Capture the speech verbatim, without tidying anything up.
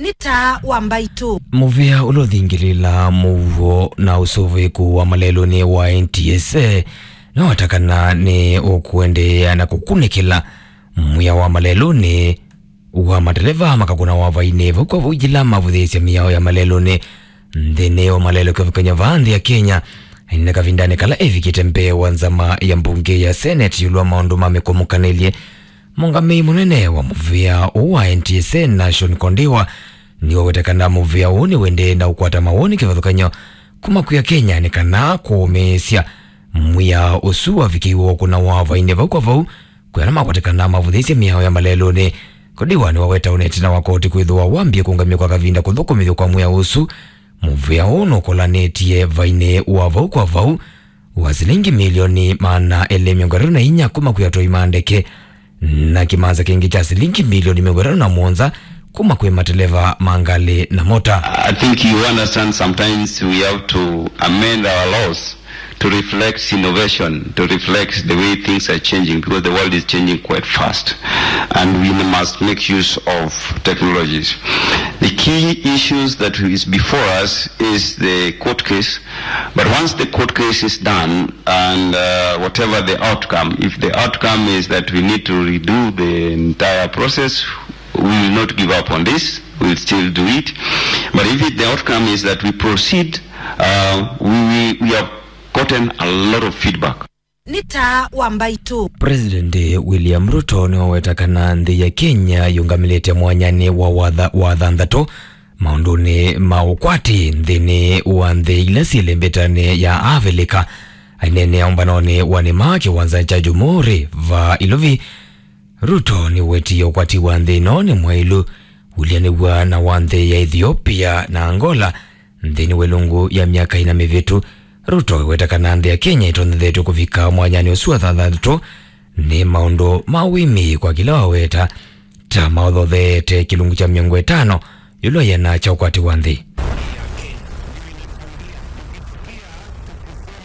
Nĩ taa wa mbaitũ. Mũvĩa ũla ũthingĩlĩĩlaa mũuo na ũsũvĩĩku wa malelũnĩ wa N T S A nĩwatakana nĩ ũkũendeea na kũkunĩkĩla mwĩao wa malelũnĩ wa mateleva makakũnawa vainĩ vau kwa vau yĩla mavũthĩĩsya mĩao ya malelũnĩ nthĩnĩ wa malelũ kĩvathũkany'o vaa nthĩ ya Kenya. Ainena kavindanĩ kala evikĩte mbee wa nzama ya mbunge ya Senate ĩũlũ wa maũndũ ma mĩkũmũkanĩlye, mũngamĩi mũnene wa mũvĩa ũũ wa N T S A Nashon Kondiwa nĩwaweta kana mũvĩa ũũ nĩwendee na ũkwata mawoni kĩvathũkany'o kuma kwĩ Akenya nĩ kana kũũmĩĩsya mwĩao ũsu wavikĩiwe wa kũnawa vainĩ vau kwa vau, kwĩ ala makwatikana mavũthĩĩsye mĩao ya malelũnĩ. Kondiwa nĩwaweta ũneti na wa koti kwĩthĩwa wambie kũngamw'a kwa kavinda kũthũkũmĩthw'a kwa mwĩao ũsu. Mũvĩa ũũ nũkolanĩtye vainĩ wa vau kwa vau wa silingi milioni maana elĩ mĩongo ĩtatũ na inya kuma kwĩ atwai ma ndeke na kĩmanza kĩngĩ kya silingi milioni mĩongo ĩtatũ na mũonza kuma kwĩ mateleva ma ngalĩ na mota. I think you understand sometimes we have to amend our laws to reflect innovation, to reflect the way things are changing, because the world is changing quite fast, and we must make use of technologies. The key issues that is before us is the court case, but once the court case is done, and uh, whatever the outcome, if the outcome is that we need to redo the entire process, we will not give up on this. We'll still do it. But if it, the outcome is that we proceed, uh, we, we, we have gotten a lot of feedback. Nĩ taa wa mbaitũ. President William Ruto nĩwaweta kana nthĩ ya Kenya yũngamĩlĩte mwanyanĩ wa watha-, wa thanthatũ maũndũnĩ ma ũkwati nthĩnĩ wa nthĩ ila syĩ lĩmbĩtanĩ ya Avilika. Aineenea ũmbanonĩ wa nĩma kĩwanza kya Jumuri va Iluvi, Ruto nĩwetie ũkwati wa nthĩ ĩno nĩ mwaĩlu ũlyanĩw'a na wa nthĩ ya Ethiopia na Angola nthĩnĩ wa ĩlungu ya myaka ĩna mĩvĩtu. Ruto eweta kana nthĩ ya Kenya ĩtonyethetw'e kũvika mwanyanĩ ũsu wa thanthatũ nĩ maũndũ ma wĩmĩĩ kwa kĩla waweta ta maũthotheete kĩlungu kya mĩongo ĩtano ĩũlũ wa ĩana kya ũkwati wa nthĩ.